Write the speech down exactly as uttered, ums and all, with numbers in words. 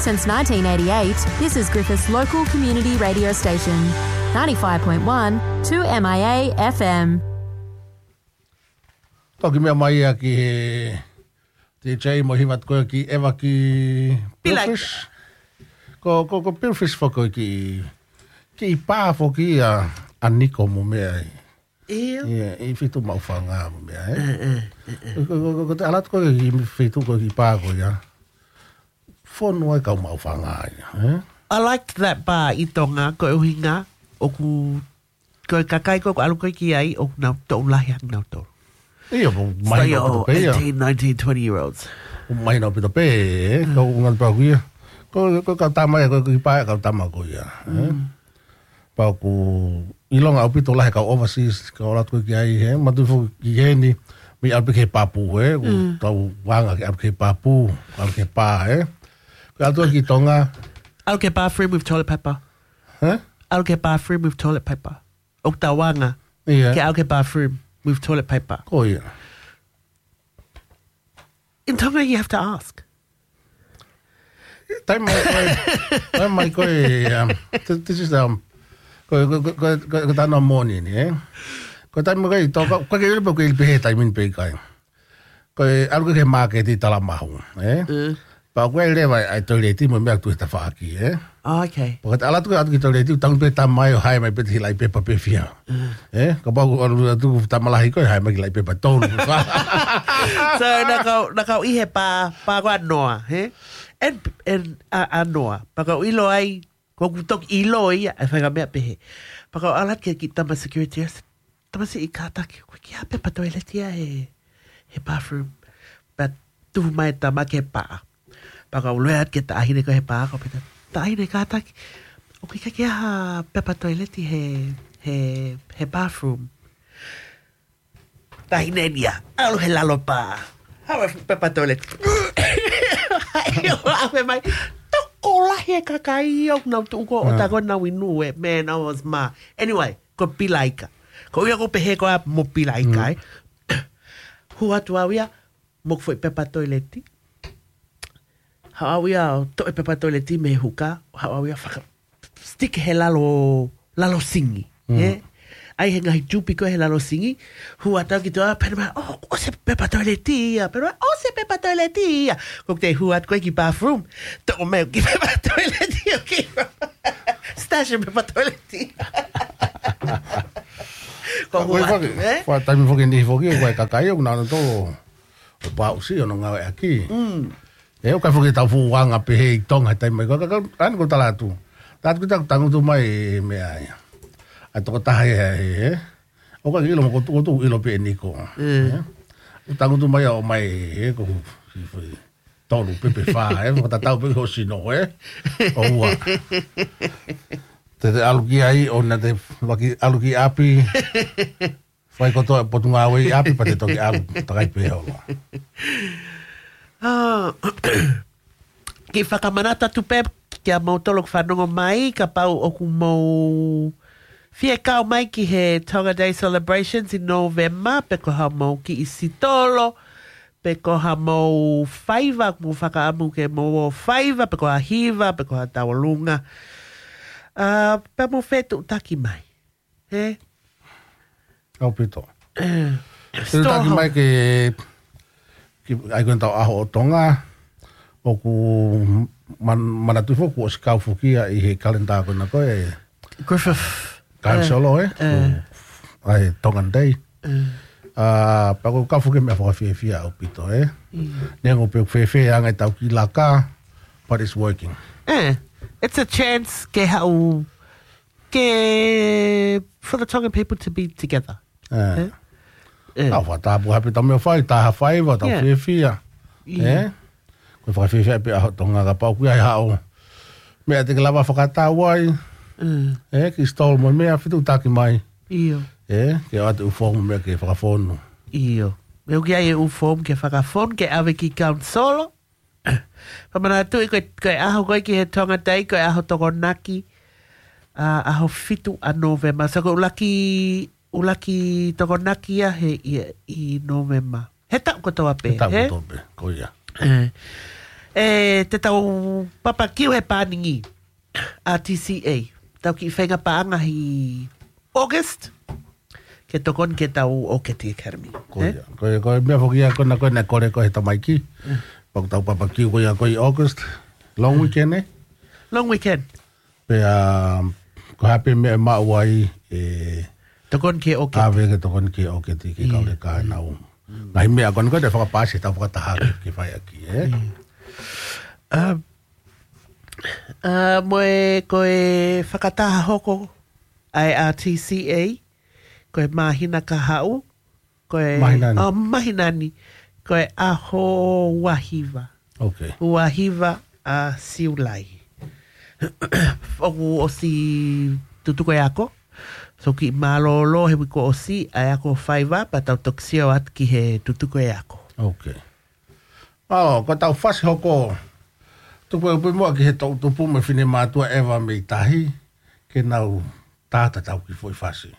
Since nineteen eighty-eight, this is Griffith's local community radio station, ninety-five point one two M I A F M. Toki meʻa mai ia ki he D J mo e hiva atu ko ē ki ʻEva ki Pilaika. Billfish. Ko, ko, ko Billfish foki ko e kiʻi, kiʻi pā foki ia ʻa Niko mo meʻa ai. ʻIo. Ia, ʻi Fitu Maʻufanga mo meʻa, ē? Ē, ē, ē, ē. Ko, ko, ko, ko te ʻalu atu ko ē ki Fitu ko e kiʻi pā ko ia. Fonu ai kau Maʻufanga ia, ē? I liked that bar ʻi Tonga, ko e ʻuhinga, ʻoku, ko e kakai ko ē ʻoku ʻalu ko ē ki ai, ʻoku nau toʻu lahi ange nautolu. ʻIo, mo mahino ʻaupito pē ia. Eighteen, nineteen, twenty year olds. Mo mahino ʻaupito pē, ē? Mm. Kau ngā pau ko ia. Ko, ko, kau tama ia, ko, ko e kiʻi pā ia, kau tama ko ia, ē? Mm. Pea ʻoku ʻilonga ʻaupito lahi e kau overseas, kau ʻalu atu ko ē ki ai, ē? Manatuʻi foki ki heni, mei ʻalu pē ki he papu, ē? ʻOku Mm. tau anga ke ʻalu ki he papu, ʻalu ki he pā, ē? Ko e ʻalu atu ki Tonga. ʻAlu ki he bathroom with toilet paper. Ē? ʻAlu ki he bathroom with toilet paper. ʻOku tau anga. Ia. Ke ʻalu ki he bathroom with toilet paper. Ko ia. In Tonga, you have to ask. Taimi mai ko ē, taimi mai ko ē, um, th-, this is, um, ko, ko, ko, ko, ko, ko tana moni ni, ē? Ko e taimi mai ko ē, tō ka, ko ke ule pe ko ke ili pehē taimi ni pe ʻikai. Ko e ʻalu ko ē ki he māketi tala mahu, ē? Mm. Pea ko e leva ʻa e toileti mo e meʻa ʻoku tuʻu he tafaʻaki, ē? Oh, okay. Pea ko te ʻalu atu ko ē atu ki he toileti, tangutu pē tama ʻo hae mai pē te hilaʻi pepa pē fiha. Mm. Ē? Kapau ʻoku ʻalu atu tama lahi ko ē, hae mai ki he hilaʻi pepa tolu. So, naʻa kau, naʻa kau ʻi he pā, pā ko ē ʻa Noa, ē? And, and, ʻa, ʻa Noa. Pea kau ʻilo ai, ko ʻeku toki ʻilo ia, ʻa e faʻahinga meʻa pehē. Pea kau ʻalu atu ki he kiʻi tama security, ʻo se, "Tamasiʻi kātaki, ʻoku ʻikai ha pepa toileti ia he, he bathroom." Pea tuhu mai e tama ki he pā. Pea kau lea atu ki he taʻahine ko ē he pā, kau pehē, "Taʻahine kātaki, ʻoku ʻikai ke ʻi ai ha pepa toileti he, he, he bathroom." Taʻahine ni ia, ʻalu he lalo pā. Haʻu e pepa toileti. ʻAve mai, tokolahi e kakai ʻoku nau tuʻu ko ē, ʻo tā ko ē nau inu ē, man, I was ma. Anyway, ko Pilaika. Ko ia ko pehē ko ā mo Pilaika, ē. Hū atu au ia, mo ʻeku foʻi pepa toileti. Haʻu au ia ʻo toʻo e pepa toileti mei he huka, haʻu au ia faka-, stick he lalo, lalo singi, ē? ʻAi he ngaahi tupi ko ē he lalo singi, hū atu au ki tuʻa, pehē mai, "Oh, ʻosi e pepa toileti ia," pehē mai, "ʻOsi e pepa toileti ia." Ko ʻeku toe hū atu ko ē ki bathroom, toʻo mai e kiʻi pepa toileti, ʻo kiʻi stash e pepa toileti. Ko ʻeku hū atu, ē? Ko e taimi foki ni foki, ko e kakai ʻoku nau ʻalu ʻo pau si ʻo nau ngāueʻaki. Mm. ʻE, ʻoku ʻikai foki tau fuʻu anga pehē ʻi Tonga he taimi mai. Ko, ko, ko, ʻa eni ko e tala atu. Tala atu ki he tangutu mai e meʻa ia. ʻA e tokotaha ia, ē, ē. ʻOku ʻikai ke ʻilo mo ko tu, ko tu ʻilo pē ʻe Niko. Mm. Ē? ʻOku tangutu mai ʻo mai, ē, ko, tolu pē pe fā, ē. Fakatatau pē ki ho sino, ē. ʻOua. Te te ʻalu ki ai, ʻo na te laki ʻalu ki ʻapi. Fai kotoa e potungāue ʻi ʻapi pea te toki ʻalu, takai pē holo. Ah, kiʻi fakamanatu atu pē kia moutolu ʻoku fanongo mai, kapau ʻoku mou fie kau mai ki he Tonga Day Celebrations ʻi November, pe ko haʻamou kiʻi sitolo, pe ko haʻamou faiva, mou fakaʻamu ke mou ō faiva, pe ko ha hiva, pe ko ha tauʻolunga. Ah, pea mou fetuʻutaki mai. Ē? ʻAupito. Ē, fetuʻutaki mai ke, ke ʻai ko ē ʻetau ʻaho ʻo Tonga, ʻoku man-, manatuʻi foki, ʻosi kau foki ia ʻi he kalenda ko ena ko ē. Griffith. Kanisolo, ē? Ē. ʻA e Tongan Day. Ē. Ah, pea ʻoku kau foki meʻa fakafiefia ʻaupito, ē? ʻIo. Neongo pē ʻoku fēfē ʻa e anga ʻetau kiʻi laka, but it's working. Ē, it's a chance ke haʻu ke, for the Tongan people to be together. Ē. Ē? Ē. Tau fakatāpua hape tau meʻa fai, tā ha faiva, tau fiefia. ʻIo. Ē? Ko e fakafiefia pē ʻaho Tonga kapau ʻoku ʻi ai haʻo meʻa te ke lava fakatau ai. Mm. Ē, kiʻi stall mo e meʻa fetuʻutaki mai. ʻIo. Ē, ke ʻoatu e ʻū fomu mo e meʻa ke fakafonu. ʻIo. Meʻa ʻoku ʻi ai e ʻū fomu ke fakafonu, ke ʻave ki he kanisolo. Fakamanatu ʻi ko e, ko e ʻaho ko ē ki he Tonga Day, ko e ʻaho Tokonaki, ʻa, ʻaho fitu ʻa November. So ko e ʻuluaki, ʻuluaki Tokonaki ia he, ʻi, ʻi November. He taʻu kotoa pē, he taʻu kotoa pē, ko ia. Ē. ʻE te tau papakiu he pāningi ʻa T C A. Tau kiʻi feinga paʻanga ʻi August ke tokoni ke tau ʻOketi Academy. Ko ia. Ko ia, ko e meʻa foki ia ko ena ko ena kole ko e he tamaiki. Pea ko ʻetau papakiu ko ia ko ʻi August. Long weekend, ē? Long weekend. Pea ko e hā pē meʻa ʻe maʻu ai ʻe tokoni ke ʻOketi. ʻAve ke tokoni ke ʻOketi ke kau le kāinau. Ngaahi meʻa ko ena ko ena ʻe fakapaasi ʻetau fakataha ke fai ʻaki, ē? ʻA, ʻa, mo e ko e fakataha hoko ʻa e R T C A, ko e māhina ka haʻu, ko e māhina ni. ʻA, māhina ni, ko e ʻaho ua hiva. Ok. Ua hiva ʻa Siulai. ʻOku ʻosi tutuku e ako. So kiʻi mālōlō he uike kuo ʻosi, ʻa e ako faiva, pea tau toki sio atu ki he tutuku e ako. Ok. ʻAo, ko ʻetau fasi hoko. Tuku e upe muʻa ki he toʻu tupu mo e finemātuʻa ʻeva mei tahi, ke nau tāta ʻetau kiʻi foʻi fasi.